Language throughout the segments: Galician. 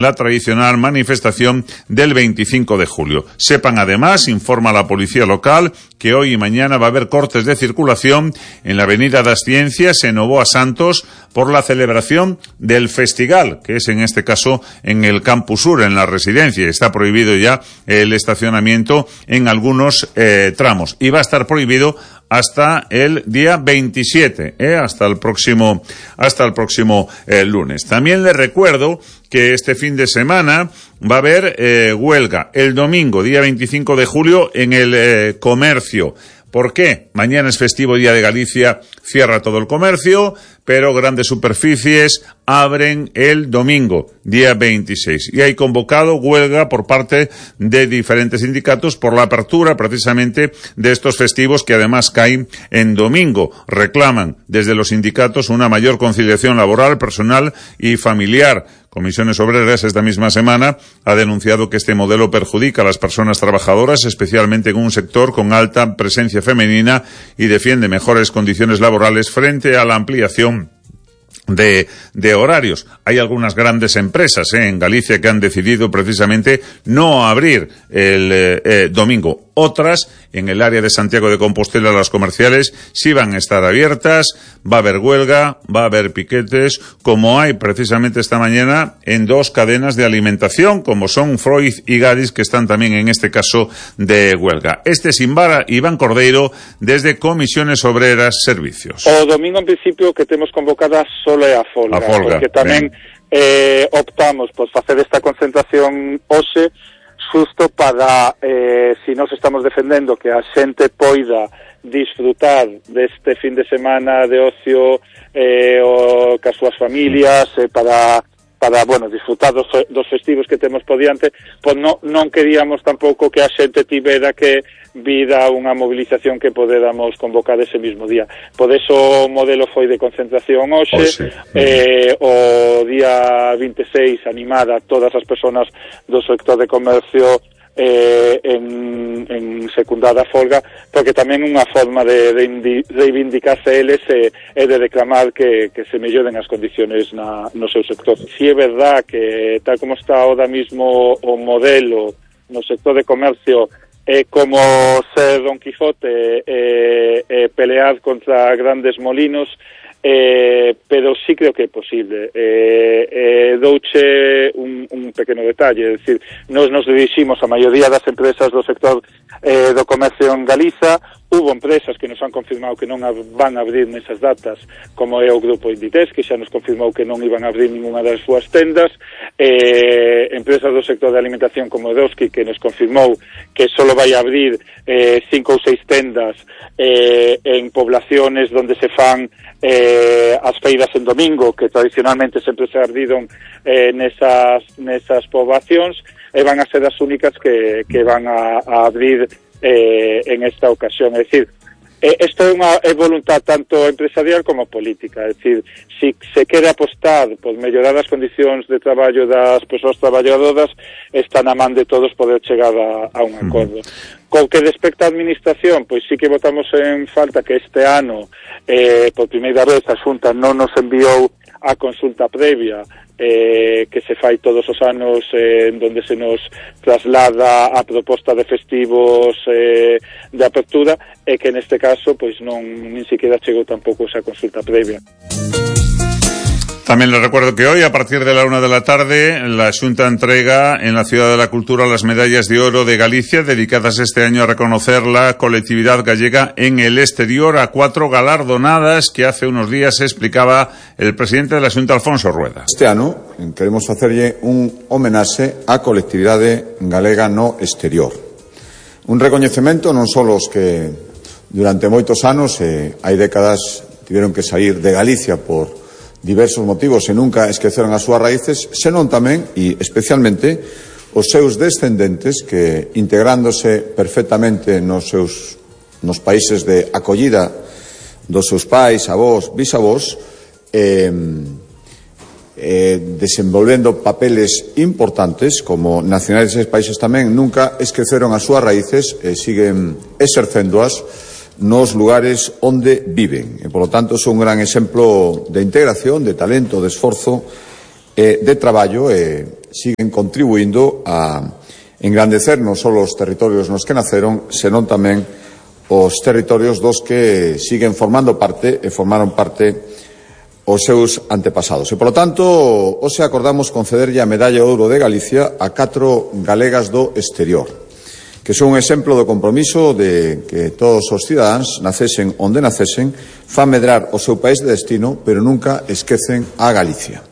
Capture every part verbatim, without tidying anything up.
la tradicional manifestación del veinticinco de julio. Sepan además, informa la policía local, que hoy y mañana va a haber cortes de circulación en la Avenida das Ciencias, en Novoa Santos, por la celebración del Festigal, que es en este caso en el Campus Sur, en la residencia. Está prohibido ya el estacionamiento en algunos eh, tramos y va a estar prohibido hasta el día veintisiete, ¿eh? hasta el próximo, hasta el próximo eh, lunes. También les recuerdo que este fin de semana va a haber eh, huelga el domingo, día veinticinco de julio, en el eh, comercio. ¿Por qué? Mañana es festivo, Día de Galicia, cierra todo el comercio, pero grandes superficies abren el domingo, día veintiséis. Y hay convocado huelga por parte de diferentes sindicatos por la apertura precisamente de estos festivos que además caen en domingo. Reclaman desde los sindicatos una mayor conciliación laboral, personal y familiar. Comisiones Obreras esta misma semana ha denunciado que este modelo perjudica a las personas trabajadoras, especialmente en un sector con alta presencia femenina, y defiende mejores condiciones laborales frente a la ampliación de, de horarios. Hay algunas grandes empresas eh, en Galicia que han decidido precisamente no abrir el eh, eh, domingo. Otras, en el área de Santiago de Compostela, las comerciales, sí van a estar abiertas, va a haber huelga, va a haber piquetes, como hay precisamente esta mañana en dos cadenas de alimentación, como son Freud y Gadis, que están también en este caso de huelga. Este es Imbara, Iván Cordeiro, desde Comisiones Obreras Servicios. O domingo, en principio, que temos convocada solo é a folga, a folga porque tamén eh, optamos por facer esta concentración hoxe, xusto para, eh, si nos estamos defendendo que a xente poida disfrutar deste fin de semana de ocio eh, o cas súas familias, eh, para, para, bueno, disfrutar dos, dos festivos que temos por diante, pois no, non queríamos tampouco que a xente tivera que vir a unha movilización que poderamos convocar ese mismo día. Por eso o modelo foi de concentración hoxe, oh, sí. eh, o día veintiséis animar a todas as persoas do sector de comercio eh, en, en secundar a folga, porque tamén unha forma de reivindicarse eles e eh, de reclamar que, que se melloren as condiciones na, no seu sector. Si é verdad que tal como está ahora mismo o modelo no sector de comercio, é como ser Don Quijote e eh, eh, pelear contra grandes molinos, eh, pero sí creo que é posible. Eh, eh, douche un, un pequeno detalle, é dicir, nos nos diriximos a maioría das empresas do sector eh, do comercio en Galiza. Hubo empresas que nos han confirmado que non van a abrir nesas datas, como é o Grupo Inditex, que xa nos confirmou que non iban a abrir ninguna das súas tendas, eh, empresas do sector de alimentación como Edoski, que nos confirmou que só vai a abrir eh, cinco ou seis tendas eh, en poblaciones donde se fan eh, as feiras en domingo, que tradicionalmente sempre se abriron eh, nesas, nesas poblacións, e van a ser as únicas que, que van a, a abrir Eh, en esta ocasión. É dicir, eh, isto é unha é voluntad tanto empresarial como política. É dicir, si se quere apostar por mellorar as condicións de traballo das persoas traballadoras, está na man de todos poder chegar a, a un acordo. Uh-huh. Co que respecta á administración, pois sí que votamos en falta que este ano, eh, por primeira vez, a Xunta non nos enviou a consulta previa eh, que se fai todos os anos, eh, en donde se nos traslada a proposta de festivos eh, de apertura, e que neste caso pois non nin siquiera chegou tampouco esa consulta previa. También les recuerdo que hoy, a partir de la una de la tarde, la Xunta entrega en la Ciudad de la Cultura las medallas de oro de Galicia, dedicadas este año a reconocer la colectividad gallega en el exterior, a cuatro galardonadas que hace unos días explicaba el presidente de la Xunta, Alfonso Rueda. Este ano queremos facerlle un homenaxe á colectividade galega no exterior. Un recoñecemento non só os que durante moitos anos e hai décadas tiveron que sair de Galicia por diversos motivos e nunca esqueceron as súas raíces, senón tamén, e especialmente, os seus descendentes que, integrándose perfectamente nos seus nos países de acollida dos seus pais, avós, bisavós, eh, eh, desenvolvendo papeles importantes como nacionais deses países tamén, nunca esqueceron as súas raíces e siguen exercéndoas nos lugares onde viven. E, polo tanto, son un gran exemplo de integración, de talento, de esforzo, eh, de traballo e, siguen contribuindo a engrandecer non só os territorios nos que naceron, senón tamén os territorios dos que siguen formando parte e formaron parte os seus antepasados. E, polo tanto, hoxe acordamos concederlle a Medalla de Ouro de Galicia a catro galegas do exterior, que son un exemplo do compromiso de que todos os cidadáns, nacesen onde nacesen, fan medrar o seu país de destino, pero nunca esquecen a Galicia.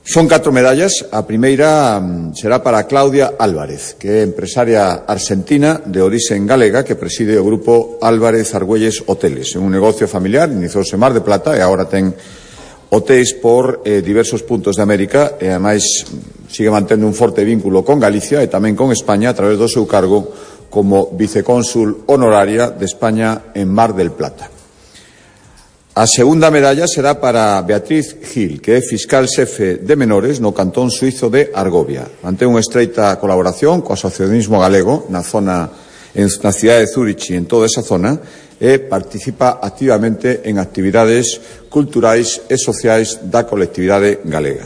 Son catro medallas. A primeira será para Claudia Álvarez, que é empresaria argentina de orixen galega que preside o grupo Álvarez Argüelles Hoteles. É un negocio familiar, iniciouse en Mar de Plata e agora ten hotéis por eh, diversos puntos de América e, ademais, sigue mantendo un forte vínculo con Galicia e tamén con España a través do seu cargo como vicecónsul honoraria de España en Mar del Plata. A segunda medalla será para Beatriz Gil, que é fiscal xefe de menores no cantón suizo de Argovia. Mantén unha estreita colaboración co asociacionismo galego na zona, na cidade de Zúrich e en toda esa zona, e participa activamente en actividades culturais e sociais da colectividade galega.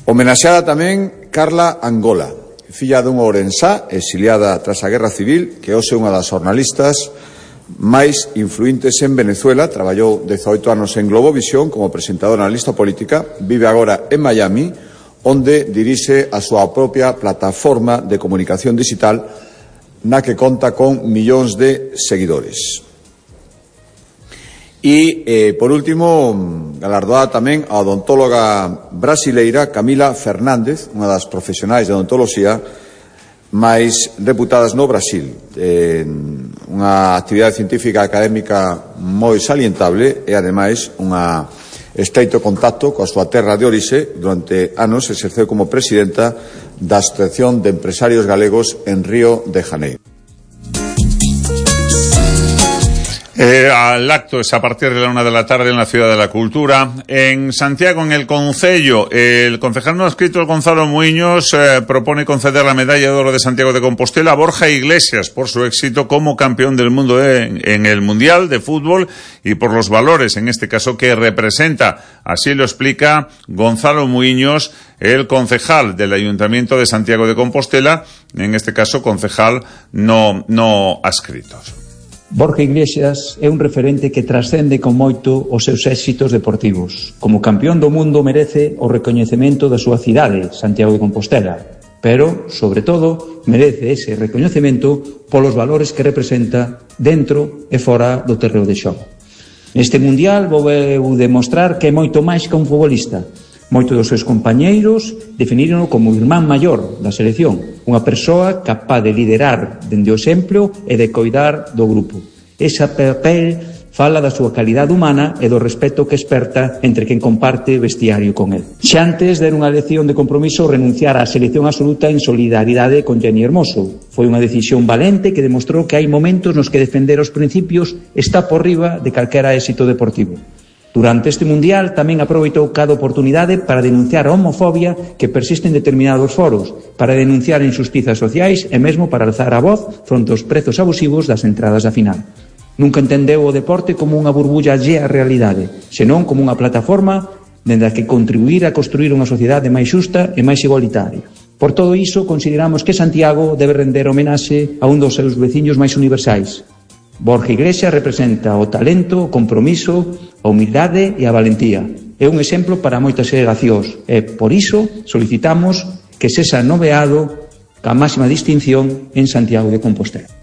Homenaxeada tamén Carla Angola, filla dunha ourensá exiliada tras a Guerra Civil, que hoxe é unha das xornalistas máis influentes en Venezuela. Traballou dezaoito anos en Globovisión como presentadora na lista política, vive agora en Miami, onde dirixe a súa propia plataforma de comunicación digital na que conta con millóns de seguidores. E, eh, por último, galardoada tamén a odontóloga brasileira Camila Fernández, unha das profesionais de odontoloxía máis reputadas no Brasil. Eh, unha actividade científica académica moi salientable e, ademais, unha estreito contacto coa súa terra de orixe. Durante anos exerceu como presidenta da Asociación de Empresarios Galegos en Río de Janeiro. Eh, al acto es a partir de la una de la tarde en la Ciudad de la Cultura. En Santiago, en el Concello, el concejal no adscrito Gonzalo Muiños eh, propone conceder la Medalla de Oro de Santiago de Compostela a Borja Iglesias por su éxito como campeón del mundo de, en el Mundial de Fútbol y por los valores, en este caso, que representa. Así lo explica Gonzalo Muiños, el concejal del Ayuntamiento de Santiago de Compostela, en este caso concejal no, no adscritos. Borja Iglesias é un referente que trascende con moito os seus éxitos deportivos. Como campeón do mundo merece o recoñecemento da súa cidade, Santiago de Compostela, pero, sobre todo, merece ese recoñecemento polos valores que representa dentro e fora do terreo de xogo. Neste Mundial vou demostrar que é moito máis que un futbolista. Moitos dos seus compañeiros definiron como o irmán maior da selección, unha persoa capaz de liderar dende o exemplo e de coidar do grupo. Esa papel fala da súa calidade humana e do respeto que esperta entre quen comparte vestiario con el. Xa antes de unha lección de compromiso renunciar á selección absoluta en solidaridade con Jenny Hermoso. Foi unha decisión valente que demostrou que hai momentos nos que defender os principios está por riba de calquera éxito deportivo. Durante este Mundial tamén aproveitou cada oportunidade para denunciar a homofobia que persiste en determinados foros, para denunciar injustizas sociais e mesmo para alzar a voz fronte aos prezos abusivos das entradas da final. Nunca entendeu o deporte como unha burbulla allea á realidade, senón como unha plataforma dende a que contribuir a construir unha sociedade máis xusta e máis igualitaria. Por todo iso, consideramos que Santiago debe render homenaxe a un dos seus veciños máis universais. Borja Iglesias representa o talento, o compromiso, a humildade e a valentía. É un exemplo para moitas xeracións e, por iso, solicitamos que sexa nomeado ca máxima distinción en Santiago de Compostela.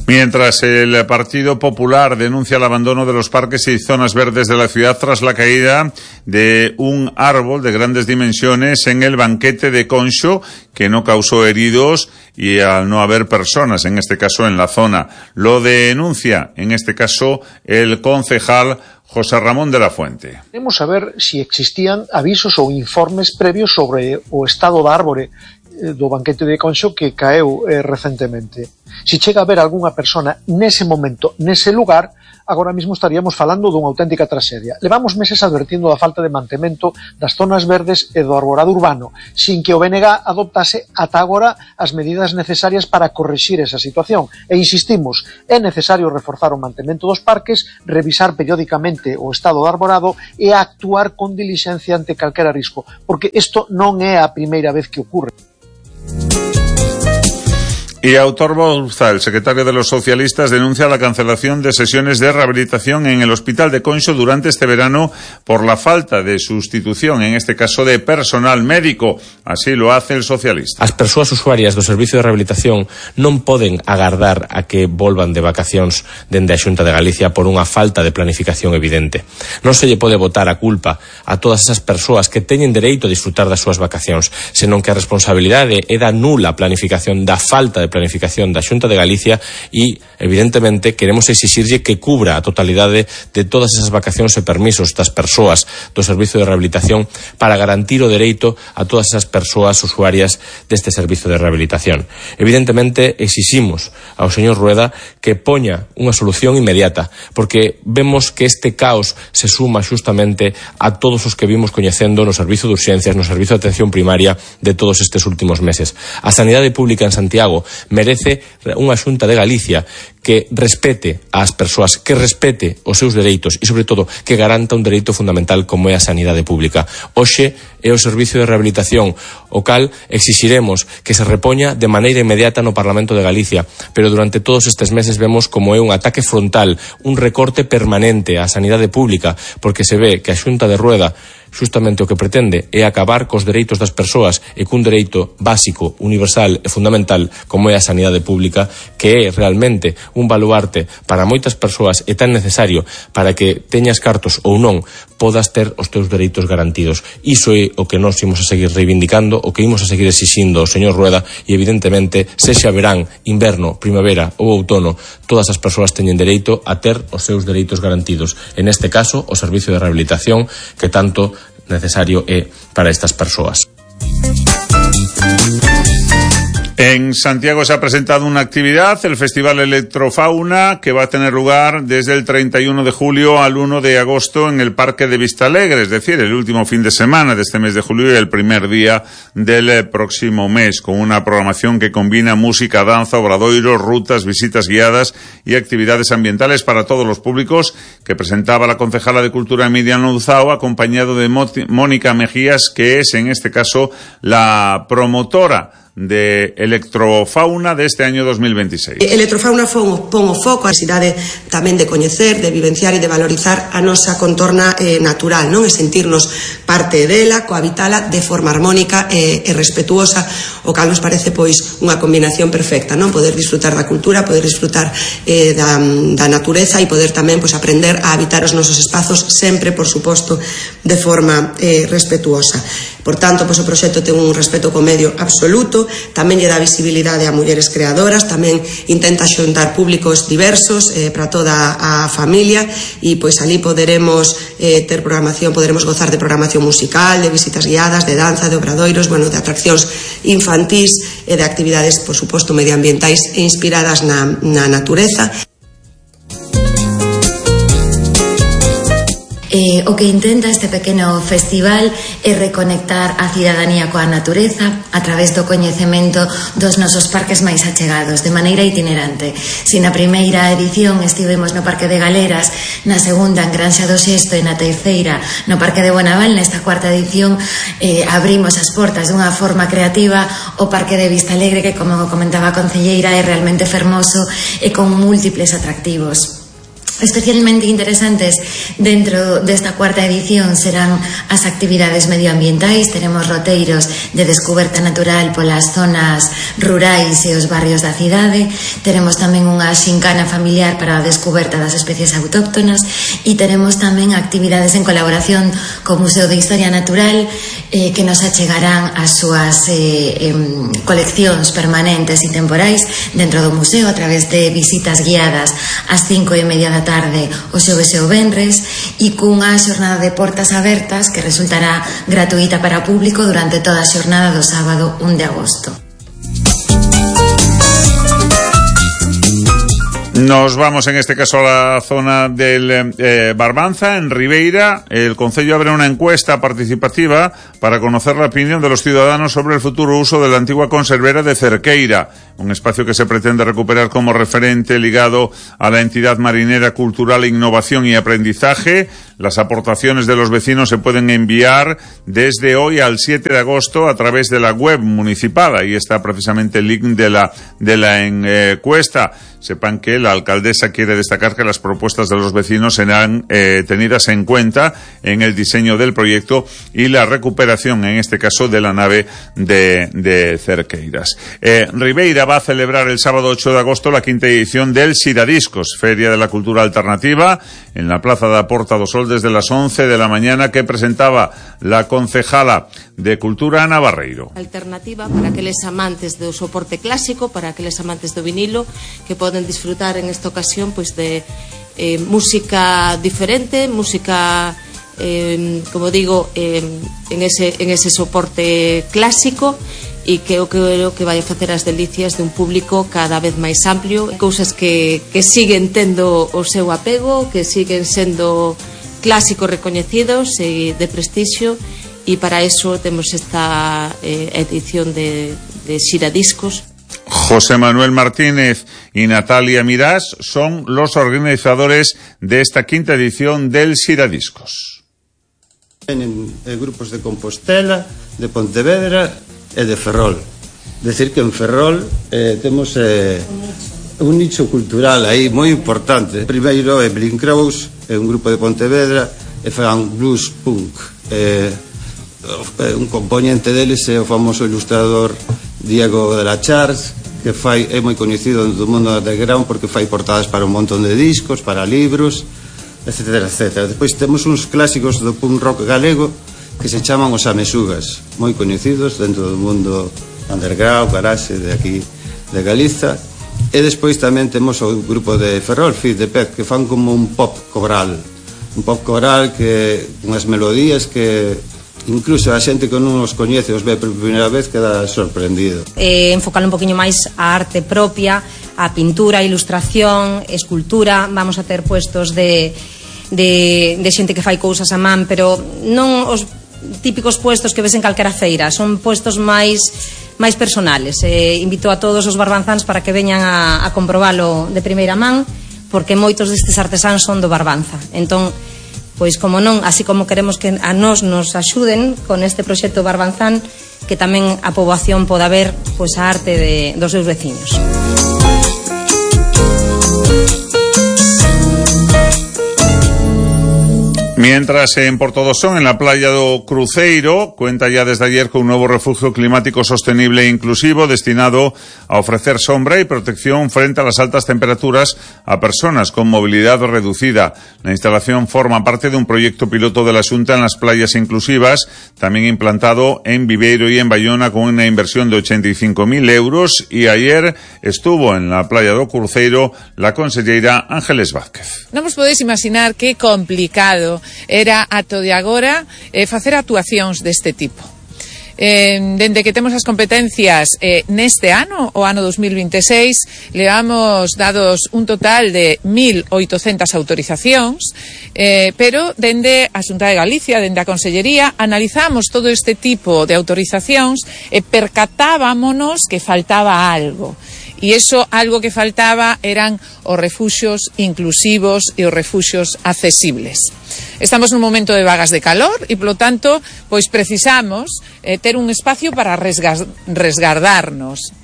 Mientras el Partido Popular denuncia el abandono de los parques y zonas verdes de la ciudad tras la caída de un árbol de grandes dimensiones en el banquete de Conxo, que no causó heridos y al no haber personas, en este caso en la zona. Lo denuncia, en este caso, el concejal José Ramón de la Fuente. Queremos saber si existían avisos ou informes previos sobre o estado da árbore do banquete de Conxo que caeu eh, recentemente. Si chega a haber algunha persona nese momento, nese lugar, agora mesmo estaríamos falando dunha auténtica traxedia. Levamos meses advertindo da falta de mantemento das zonas verdes e do arborado urbano, sin que o B N G adoptase ata agora as medidas necesarias para corrixir esa situación. E insistimos, é necesario reforzar o mantemento dos parques, revisar periódicamente o estado do arborado e actuar con dilixencia ante calquera risco, porque isto non é a primeira vez que ocurre. Y Aitor Bouza, el secretario de los socialistas, denuncia la cancelación de sesiones de rehabilitación en el Hospital de Conxo durante este verano por la falta de sustitución, en este caso de personal médico. Así lo hace el socialista. As persoas usuarias do servicio de rehabilitación non poden agardar a que volvan de vacacións dende a Xunta de Galicia por unha falta de planificación evidente. Non se lle pode botar a culpa a todas esas persoas que teñen dereito a disfrutar das súas vacacións, senón que a responsabilidade é da nula planificación, da falta de planificación da Xunta de Galicia e, evidentemente, queremos exixirlle que cubra a totalidade de todas esas vacacións e permisos das persoas do servicio de rehabilitación para garantir o dereito a todas esas persoas usuarias deste servicio de rehabilitación. Evidentemente, exiximos ao señor Rueda que poña unha solución inmediata, porque vemos que este caos se suma xustamente a todos os que vimos coñecendo no servicio de urxencias, no servicio de atención primaria de todos estes últimos meses. A sanidade pública en Santiago merece unha Xunta de Galicia que respete ás persoas, que respete os seus dereitos e, sobre todo, que garanta un dereito fundamental como é a sanidade pública. Hoxe é o servicio de rehabilitación, o cal exixiremos que se repoña de maneira inmediata no Parlamento de Galicia, pero durante todos estes meses vemos como é un ataque frontal, un recorte permanente á sanidade pública, porque se ve que a Xunta de Rueda justamente o que pretende é acabar cos dereitos das persoas e cun dereito básico, universal e fundamental como é a sanidade pública, que é realmente un baluarte para moitas persoas e tan necesario para que teñas cartos ou non podas ter os teus dereitos garantidos. Iso é o que nós imos a seguir reivindicando, o que imos a seguir exixindo ao señor Rueda e, evidentemente, sexa verán, inverno, primavera ou outono, todas as persoas teñen dereito a ter os seus dereitos garantidos. En este caso, o servicio de rehabilitación que tanto necesario é para estas persoas. En Santiago se ha presentado una actividad, el Festival Electrofauna, que va a tener lugar desde el treinta y uno de julio al uno de agosto en el Parque de Vistalegre, es decir, el último fin de semana de este mes de julio y el primer día del próximo mes, con una programación que combina música, danza, obradoiros, rutas, visitas guiadas y actividades ambientales para todos los públicos, que presentaba la concejala de Cultura Miriam Louzao, acompañado de Mónica Mejías, que es en este caso la promotora de Electrofauna deste año dos mil veintiséis. Electrofauna pon o foco a necesidade tamén de coñecer, de vivenciar e de valorizar a nosa contorna eh, natural, non? E sentirnos parte dela, cohabitala de forma armónica e, e respetuosa, o cal nos parece pois unha combinación perfecta, non? Poder disfrutar da cultura, poder disfrutar eh, da, da natureza e poder tamén pois aprender a habitar os nosos espazos sempre, por suposto, de forma eh, respetuosa. Por tanto, pois o proxecto ten un respeto co medio absoluto, tamén lle dá visibilidade a mulleres creadoras, tamén intenta xuntar públicos diversos eh, para toda a familia e pois ali poderemos eh, ter programación, poderemos gozar de programación musical, de visitas guiadas, de danza, de obradoiros, bueno, de atraccións infantís e de actividades, por suposto, medioambientais e inspiradas na, na natureza. Eh, o que intenta este pequeno festival é reconectar a cidadanía coa natureza a través do coñecemento dos nosos parques máis achegados, de maneira itinerante. Si na primeira edición estivemos no Parque de Galeras, na segunda en Granxa do Xesto e na terceira no Parque de Bonaval, nesta cuarta edición eh, abrimos as portas dunha forma creativa o Parque de Vistalegre, que, como comentaba a concelleira, é realmente fermoso e con múltiples atractivos. Especialmente interesantes dentro desta cuarta edición serán as actividades medioambientais. Teremos roteiros de descoberta natural polas zonas rurais e os barrios da cidade. Teremos tamén unha xincana familiar para a descoberta das especies autóctonas e teremos tamén actividades en colaboración co Museo de Historia Natural eh, que nos achegarán as súas eh, eh, coleccións permanentes e temporais dentro do museo a través de visitas guiadas ás cinco e media da tarde o xoves e o venres e cunha xornada de portas abertas que resultará gratuita para o público durante toda a xornada do sábado un de agosto. Nos vamos en este caso a la zona del eh, Barbanza, en Ribeira. El Concello abre una encuesta participativa para conocer la opinión de los ciudadanos sobre el futuro uso de la antigua conservera de Cerqueira, un espacio que se pretende recuperar como referente ligado a la entidad marinera, cultural, innovación y aprendizaje. Las aportaciones de los vecinos se pueden enviar desde hoy al siete de agosto a través de la web municipal. Ahí está precisamente el link de la, de la encuesta. Sepan que la alcaldesa quiere destacar que las propuestas de los vecinos serán eh, tenidas en cuenta en el diseño del proyecto y la recuperación, en este caso, de la nave de, de Cerqueiras. Eh, Ribeira va a celebrar el sábado ocho de agosto la quinta edición del Siradiscos, Feria de la Cultura Alternativa, en la Plaza da Porta do Sol desde las once de la mañana, que presentaba la concejala de Cultura, Ana Barreiro. Alternativa para aqueles amantes do soporte clásico, para aqueles amantes do vinilo, que poden disfrutar en esta ocasión pues de eh, música diferente, música eh, como digo eh, en ese en ese soporte clásico, e que eu creo que vai a facer as delicias de un público cada vez máis amplio, cousas que, que siguen tendo o seu apego, que siguen sendo clásicos recoñecidos e de prestixio, e para eso temos esta eh, edición de, de Siradiscos. José Manuel Martínez y Natalia Mirás son los organizadores de esta quinta edición del Siradiscos. Tienen eh, grupos de Compostela, de Pontevedra e de Ferrol. Decir que en Ferrol eh, temos eh, un nicho cultural aí moi importante. Primeiro é Blink Crows, é un grupo de Pontevedra, e fan blues punk. Eh, un componente deles é o famoso ilustrador Diego de la Chars, que fai, é moi coñecido do mundo underground porque fai portadas para un montón de discos, para libros, etcétera, etcétera. Depois temos uns clásicos do punk rock galego que se chaman os Amesugas, moi coñecidos dentro do mundo underground, garage de aquí de Galiza. E despois tamén temos o grupo de Ferrol, Fit de Pez, que fan como un pop coral, un pop coral que unhas melodías que incluso a xente que non os coñece, os ve por primeira vez, queda sorprendido. Eh, enfocar un poquinho máis a arte propia, a pintura, a ilustración, escultura. Vamos a ter puestos de, de, de xente que fai cousas a man, pero non os típicos puestos que ves en calquera feira, son puestos máis máis personales. Eh, invito a todos os barbanzáns para que veñan a, a comprobalo de primeira man, porque moitos destes artesáns son do Barbanza. Entón, pois como non, así como queremos que a nós nos axuden con este proxecto Barbanzán, que tamén a poboación poda ver pois a arte de, dos seus veciños. Mientras en Portodosón, en la playa do Cruceiro, cuenta ya desde ayer con un nuevo refugio climático sostenible e inclusivo destinado a ofrecer sombra y protección frente a las altas temperaturas a personas con movilidad reducida. La instalación forma parte de un proyecto piloto de la Xunta en las playas inclusivas, también implantado en Viveiro y en Bayona con una inversión de ochenta y cinco mil euros, y ayer estuvo en la playa do Cruceiro la conselleira Ángeles Vázquez. Non vos podeis imaginar que complicado era ato de agora eh, facer actuacións deste tipo. Eh, dende que temos as competencias eh, neste ano, o ano dos mil veintiséis, levamos dados un total de mil oitocentas autorizacións, eh, pero dende a Xunta de Galicia, dende a Consellería, analizamos todo este tipo de autorizacións e percatábamonos que faltaba algo. E iso, algo que faltaba, eran os refuxios inclusivos e os refuxios accesibles. Estamos nun momento de vagas de calor e, polo tanto, pois precisamos eh, ter un espacio para resgas, resgardarnos.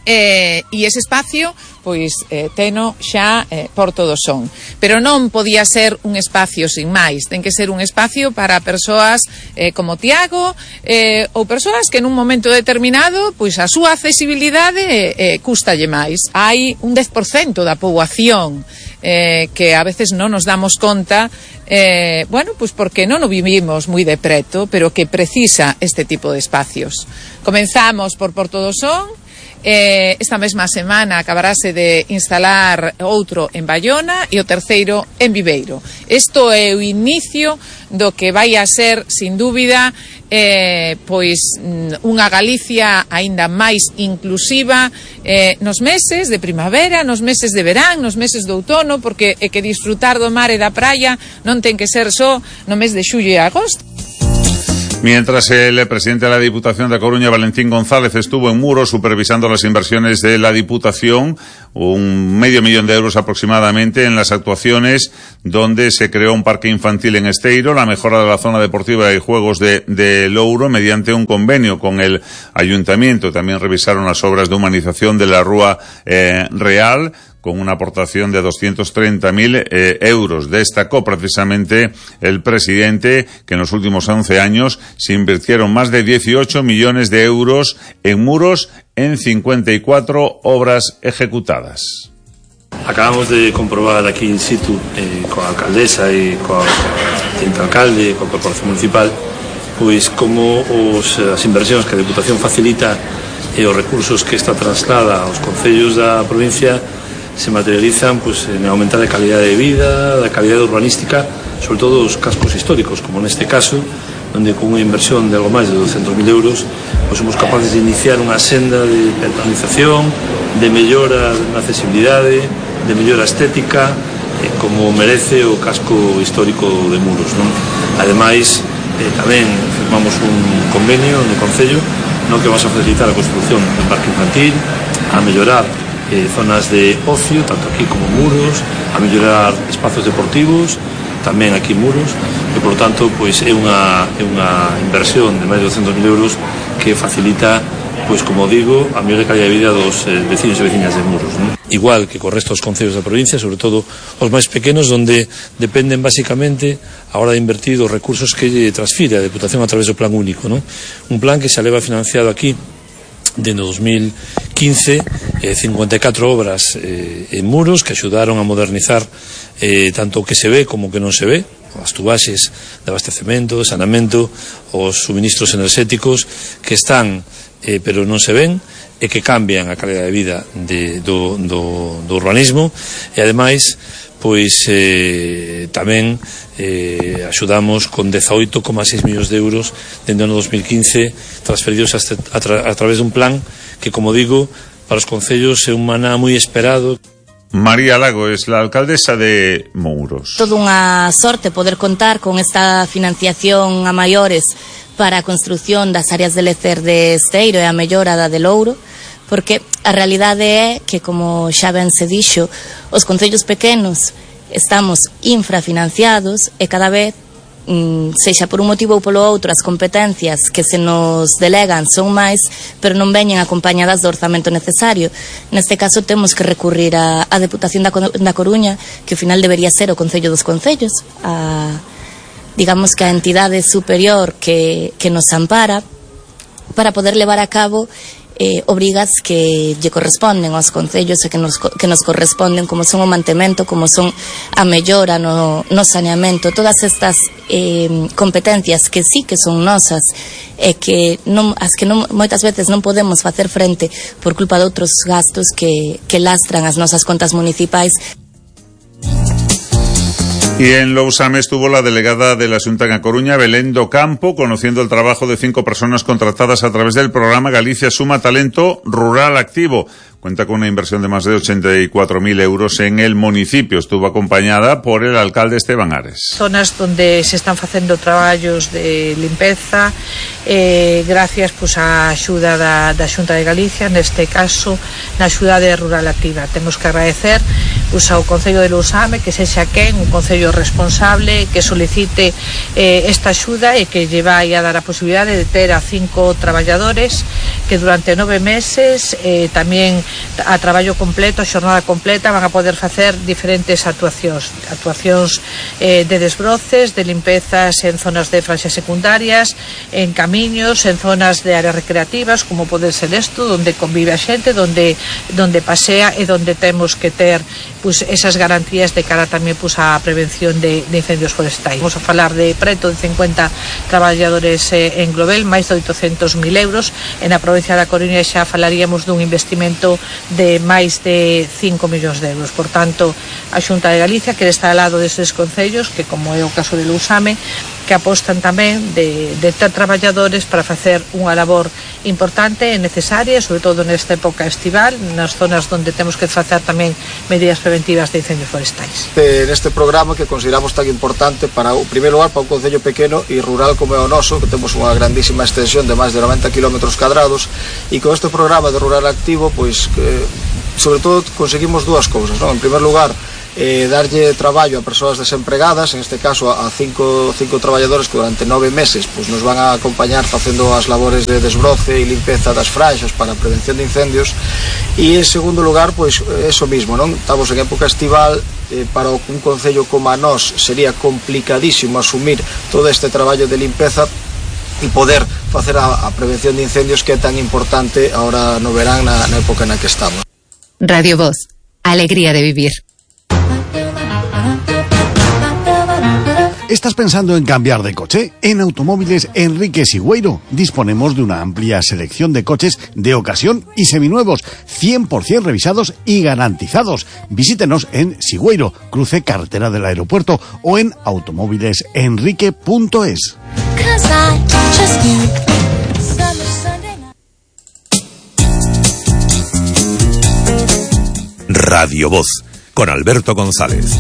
Eh, e ese espacio, pois, eh, teno xa eh, Portodosón. Pero non podía ser un espacio sin máis. Ten que ser un espacio para persoas eh, como Tiago, eh, ou persoas que nun momento determinado, pois a súa accesibilidade eh, custalle máis. Hai un dez por cento da poboación eh, que a veces non nos damos conta, eh, bueno, pois porque non o vivimos moi de preto, pero que precisa este tipo de espacios. Comenzamos por Portodosón, Eh, esta mesma semana acabarase de instalar outro en Baiona e o terceiro en Viveiro. Isto é o inicio do que vai a ser, sin dúbida, eh, pois unha Galicia aínda máis inclusiva eh, nos meses de primavera, nos meses de verán, nos meses de outono, porque é que disfrutar do mar e da praia non ten que ser só no mes de xullo e agosto. Mientras el presidente de la Diputación de Coruña, Valentín González, estuvo en Muros supervisando las inversiones de la Diputación, un medio millón de euros aproximadamente en las actuaciones donde se creó un parque infantil en Esteiro, la mejora de la zona deportiva y juegos de, de Louro mediante un convenio con el Ayuntamiento. También revisaron las obras de humanización de la Rúa eh, Real, con una aportación de doscientos treinta mil eh, euros. Destacó precisamente el presidente que en los últimos once años se invirtieron más de dieciocho millones de euros en Muros en cincuenta y cuatro obras ejecutadas. Acabamos de comprobar aquí in situ eh, coa alcaldesa e coa tinta alcalde, coa corporación municipal, pois como os, as inversións que a Deputación facilita e os recursos que esta traslada aos concellos da provincia se materializan pues, en aumentar a calidad de vida, a calidad urbanística, sobre todo os cascos históricos, como neste caso, onde con unha inversión de algo máis de douscentos mil euros pues, somos capaces de iniciar unha senda de peatonalización, de mellora na accesibilidade, de mellora estética, eh, como merece o casco histórico de Muros, non? Ademais, eh, tamén firmamos un convenio no Concello no que vas a facilitar a construción do parque infantil, a mellorar Eh, zonas de ocio, tanto aquí como Muros, a mellorar espazos deportivos, tamén aquí en Muros, e, por lo tanto, pois, é unha, é unha inversión de máis de douscentos mil euros que facilita, pois, como digo, a mellor calidad de vida dos eh, vecinos e veciñas de Muros, non? Igual que co resto dos concellos da provincia, sobre todo os máis pequenos, onde dependen basicamente a hora de invertir os recursos que lle transfire a Deputación a través do plan único, non? Un plan que se leva financiado aquí dende dos mil quince, eh, cincuenta e catro obras eh, en Muros que axudaron a modernizar eh, tanto o que se ve como o que non se ve, as tubaxes de abastecemento, de sanamento, os suministros enerxéticos que están eh, pero non se ven e que cambian a calidad de vida de, do, do, do urbanismo e ademais pois eh, tamén eh, axudamos con dezaoito coma seis millóns de euros dende o ano dos mil quince transferidos a, a, tra a través dun plan que, como digo, para os concellos é un maná moi esperado. María Lago es la alcaldesa de Muros. Toda unha sorte poder contar con esta financiación a maiores para a construción das áreas de lecer de Esteiro e a mellora da de Louro, porque a realidade é que, como xa ben se dixo, os concellos pequenos estamos infrafinanciados e cada vez, mm, sexa por un motivo ou polo outro, as competencias que se nos delegan son máis, pero non veñen acompañadas do orzamento necesario. Neste caso temos que recurrir á Deputación da, da Coruña, que ao final debería ser o Concello dos Concellos, a, digamos que a entidade superior que, que nos ampara, para poder levar a cabo Eh, obrigas que lle corresponden aos concellos e que nos, que nos corresponden, como son o mantemento, como son a mellora no, no saneamento, todas estas eh, competencias que sí que son nosas e que non, as que non, moitas veces non podemos facer frente por culpa de outros gastos que, que lastran as nosas contas municipais. Y en Lousame estuvo la delegada de la Xunta en A Coruña, Belén do Campo, conociendo el trabajo de cinco personas contratadas a través del programa Galicia Suma Talento Rural Activo. Cuenta con una inversión de más de ochenta y cuatro mil euros en el municipio. Estuvo acompañada por el alcalde Esteban Ares. Zonas donde se están facendo traballos de limpeza, eh, gracias pues, a axuda da, da Xunta de Galicia, neste caso na axuda de Rural Activa. Temos que agradecer pues, ao Concello de Lousame que sexa quen, un Concello responsable, que solicite eh, esta axuda e que lle vai a dar a posibilidade de ter a cinco traballadores que durante nove meses eh, tamén a traballo completo, a xornada completa, van a poder facer diferentes actuacións actuacións eh, de desbroces, de limpezas en zonas de franxas secundarias, en camiños, en zonas de áreas recreativas, como pode ser isto, donde convive a xente, donde, donde pasea e donde temos que ter pues, esas garantías de cara tamén pues, a prevención de, de incendios forestais. Vamos a falar de preto de cincuenta traballadores eh, en global, máis de oitocentos mil euros en aproveito provincia da Coruña xa falaríamos dun investimento de máis de cinco millóns de euros. Por tanto, a Xunta de Galicia quere estar ao lado destes concellos, que como é o caso de Lousame, que apostan tamén de, de ter traballadores para facer unha labor importante e necesaria, sobre todo nesta época estival, nas zonas onde temos que facer tamén medidas preventivas de incendios forestais. Neste programa que consideramos tan importante para, o primeiro lugar, para un concello pequeno e rural como é o noso, que temos unha grandísima extensión de máis de noventa kilómetros cadrados, e con este programa de Rural Activo, pois, que, sobre todo, conseguimos dúas cousas, non? En primer lugar, Eh, darlle traballo a persoas desempregadas, en este caso a cinco, cinco traballadores que durante nove meses pues, nos van a acompañar facendo as labores de desbroce e limpeza das franxas para a prevención de incendios. E en segundo lugar, pois eso mismo, non? Estamos en época estival, eh, para un concello como a nós sería complicadísimo asumir todo este traballo de limpeza e poder facer a, a prevención de incendios que é tan importante ahora no verán na, na época na que estamos. Radio Voz, alegría de vivir. ¿Estás pensando en cambiar de coche? En Automóviles Enrique Sigüeiro disponemos de una amplia selección de coches de ocasión y seminuevos, cien por ciento revisados y garantizados. Visítenos en Sigüeiro, cruce carretera del aeropuerto, o en automóviles enrique punto es. Radio Voz, con Alberto González.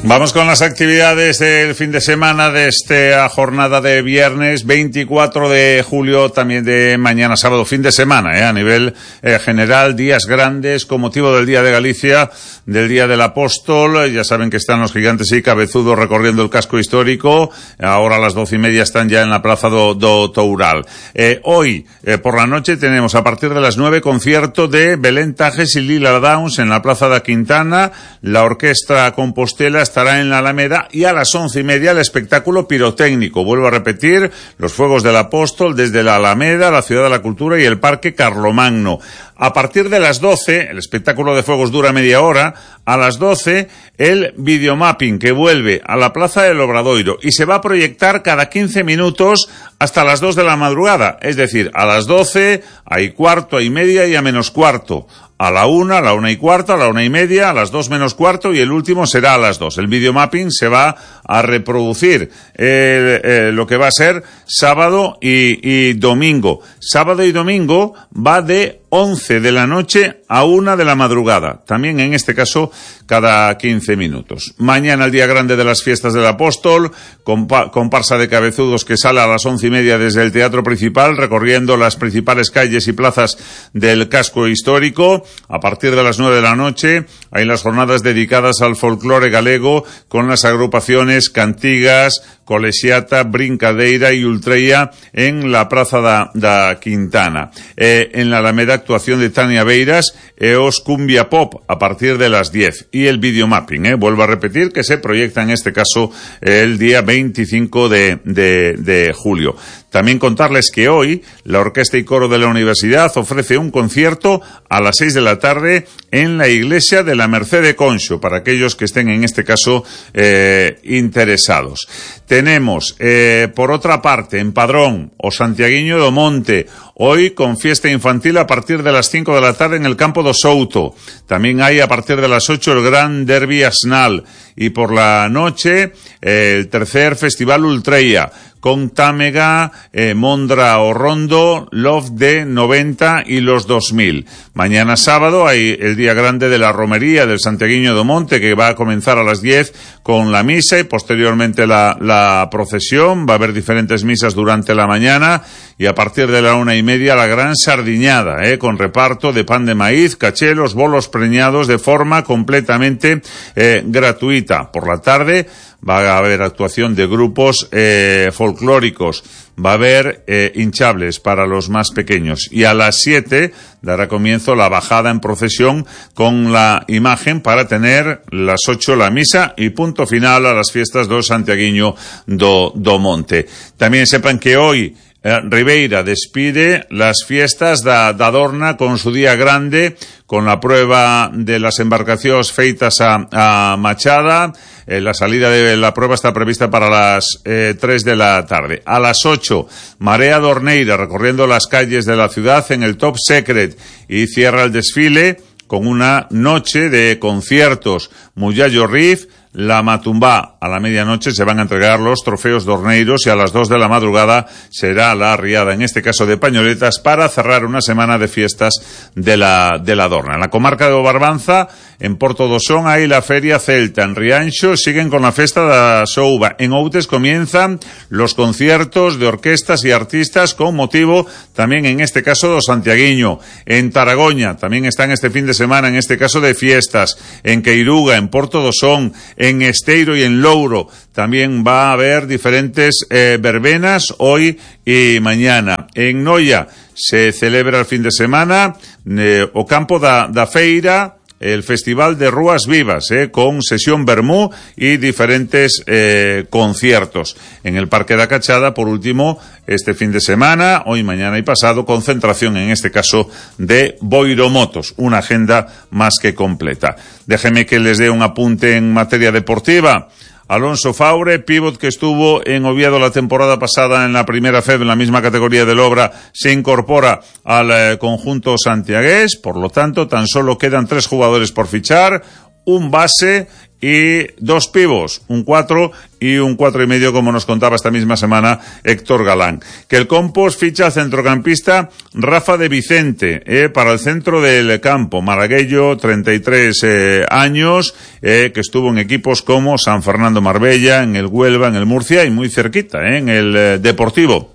Vamos con las actividades del fin de semana de esta jornada de viernes veinticuatro de julio, también de mañana sábado, fin de semana, eh, a nivel eh, general, días grandes con motivo del Día de Galicia, del Día del Apóstol. Ya saben que están los gigantes y cabezudos recorriendo el casco histórico. Ahora a las doce y media están ya en la plaza do, do Toural. Eh, hoy, eh, por la noche, tenemos a partir de las nueve concierto de Belén Tajes y Lila Downs en la plaza da Quintana. La orquesta Compostela estará en la Alameda, y a las once y media el espectáculo pirotécnico. Vuelvo a repetir, los fuegos del Apóstol desde la Alameda, la Ciudad de la Cultura y el Parque Carlomagno. A partir de las doce, el espectáculo de fuegos dura media hora. A las doce, el videomapping, que vuelve a la Plaza del Obradoiro y se va a proyectar cada quince minutos hasta las dos de la madrugada. Es decir, a las doce, hay cuarto, hay media y a menos cuarto. A la una, a la una y cuarto, a la una y media, a las dos menos cuarto, y el último será a las dos. El videomapping se va a reproducir eh, eh, lo que va a ser sábado y, y domingo. Sábado y domingo va de once de la noche a una de la madrugada. También en este caso cada quince minutos. Mañana el día grande de las fiestas del Apóstol, compa comparsa de cabezudos que sale a las once y media desde el Teatro Principal, recorriendo las principales calles y plazas del casco histórico. A partir de las nueve de la noche hay las jornadas dedicadas al folclore galego con las agrupaciones Cantigas, Colexiata, Brincadeira y Ultreia en la Praza da, da Quintana. Eh, en la Alameda, actuación de Tania Beiras e os Cumbia Pop a partir de las diez. Y el videomapping, eh, vuelvo a repetir, que se proyecta en este caso el día veinticinco de, de, de julio. También contarles que hoy la Orquesta y Coro de la Universidad ofrece un concierto a las seis de la tarde en la iglesia de la Merced de Conxo, para aquellos que estén en este caso eh, interesados. Tenemos, eh, por otra parte, en Padrón, o Santiaguiño do Monte, hoy con fiesta infantil a partir de las cinco de la tarde en el campo do Souto. También hay a partir de las ocho el gran derbi asnal, y por la noche eh, el tercer festival Ultreia, con Támega, eh, Mondra o Rondo, Love de noventa y los dos mil. Mañana sábado hay el día grande de la romería del Santiaguiño do Monte, que va a comenzar a las diez con la misa y posteriormente la, la procesión. Va a haber diferentes misas durante la mañana, y a partir de la una y media la gran sardiñada, eh, con reparto de pan de maíz, cachelos, bolos preñados de forma completamente eh, gratuita. Por la tarde va a haber actuación de grupos eh, folclóricos, va a haber eh, hinchables para los más pequeños, y a las siete dará comienzo la bajada en procesión con la imagen para tener las ocho la misa y punto final a las fiestas do Santiaguiño do, do Monte. También sepan que hoy Eh, Ribeira despide las fiestas da, da Dorna con su día grande, con la prueba de las embarcacións feitas a, a Machada. Eh, la salida de la prueba está prevista para las eh, tres de la tarde. A las ocho, Marea Dorneira recorriendo las calles de la ciudad en el Top Secret, y cierra el desfile con una noche de conciertos. Muyallo Riff, La Matumbá. A la medianoche se van a entregar los trofeos dorneiros y a las dos de la madrugada será la arriada, en este caso de pañoletas, para cerrar una semana de fiestas de la, de la Dorna. En la comarca de Barbanza, en Porto do Son, hay la Feria Celta. En Rianxo siguen con la festa da Souba. En Outes comienzan los conciertos de orquestas y artistas con motivo, también en este caso, do santiaguiño. En Taragoña también están este fin de semana, en este caso de fiestas. En Queiruga, en Porto do Son, en Esteiro y en Louro también va a haber diferentes eh, verbenas hoy y mañana. En Noia se celebra el fin de semana eh, o campo da, da Feira, el Festival de Rúas Vivas, eh, con sesión vermú y diferentes eh, conciertos. En el Parque da Cachada, por último, este fin de semana, hoy, mañana y pasado, concentración, en este caso, de boiromotos. Una agenda más que completa. Déjeme que les dé un apunte en materia deportiva. Alonso Faure, pívot que estuvo en Oviedo la temporada pasada en la primera F E B, en la misma categoría del Obra, se incorpora al eh, conjunto santiagués. Por lo tanto, tan solo quedan tres jugadores por fichar, un base y dos pivos, un cuatro y un cuatro y medio, como nos contaba esta misma semana Héctor Galán. Que el Compos ficha al centrocampista Rafa de Vicente, eh, para el centro del campo. Maraguello, treinta y tres eh, años, eh, que estuvo en equipos como San Fernando Marbella, en el Huelva, en el Murcia y muy cerquita, eh, en el eh, Deportivo.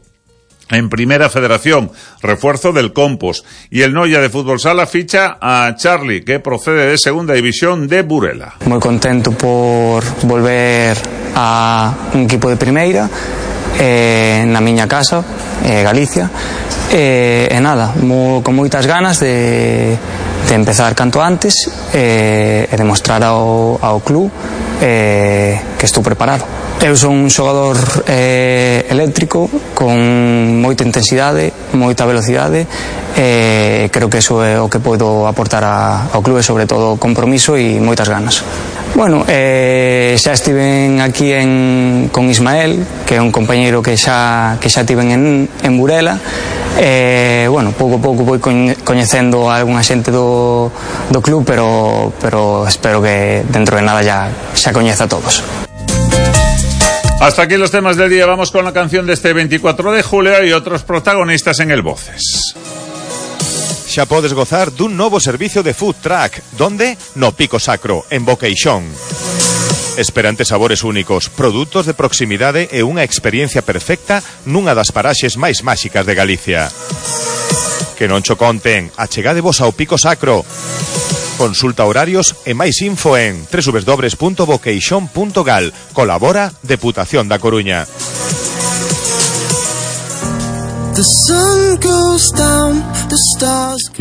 En Primera Federación, refuerzo del Compos. Y el Noia de Fútbol Sala ficha a Charlie, que procede de Segunda División de Burela. Moi contento por volver a un equipo de Primeira, eh, na miña casa, eh, Galicia, eh, e nada, mo, con moitas ganas de, de empezar canto antes, eh, e demostrar ao, ao club eh, que estou preparado. Eu son un xogador eh, eléctrico con moita intensidade, moita velocidade, e eh, creo que eso é o que podo aportar a, ao clube, sobre todo compromiso e moitas ganas. Bueno, eh, xa estiven aquí en, con Ismael, que é un compañeiro que xa, que xa tiven en, en Burela, e, eh, bueno, pouco a pouco vou coñecendo a algunha xente do, do club, pero, pero espero que dentro de nada ya, xa coñeza a todos. Hasta aquí los temas del día. Vamos con la canción de este veinticuatro de julio y otros protagonistas en el Voces. Xa podes gozar dun novo servicio de food truck. Donde? No Pico Sacro, en Boqueixón. Esperantes sabores únicos, produtos de proximidade e unha experiencia perfecta nunha das paraxes máis máxicas de Galicia. Que non cho conten, achegadevos ao Pico Sacro. Consulta horarios e máis info en doble u doble u doble u punto boqueixón punto gal. Colabora Deputación da Coruña.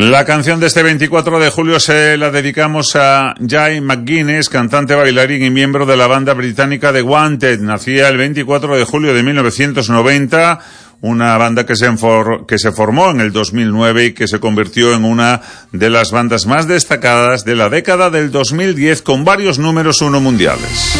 La canción de este veinticuatro de julio se la dedicamos a Jay McGuinness, cantante, bailarín y miembro de la banda británica The Wanted. Nacía el veinticuatro de julio de mil novecientos noventa, una banda que se, enfor- que se formó en el dos mil nueve y que se convirtió en una de las bandas más destacadas de la década del dos mil diez, con varios números uno mundiales.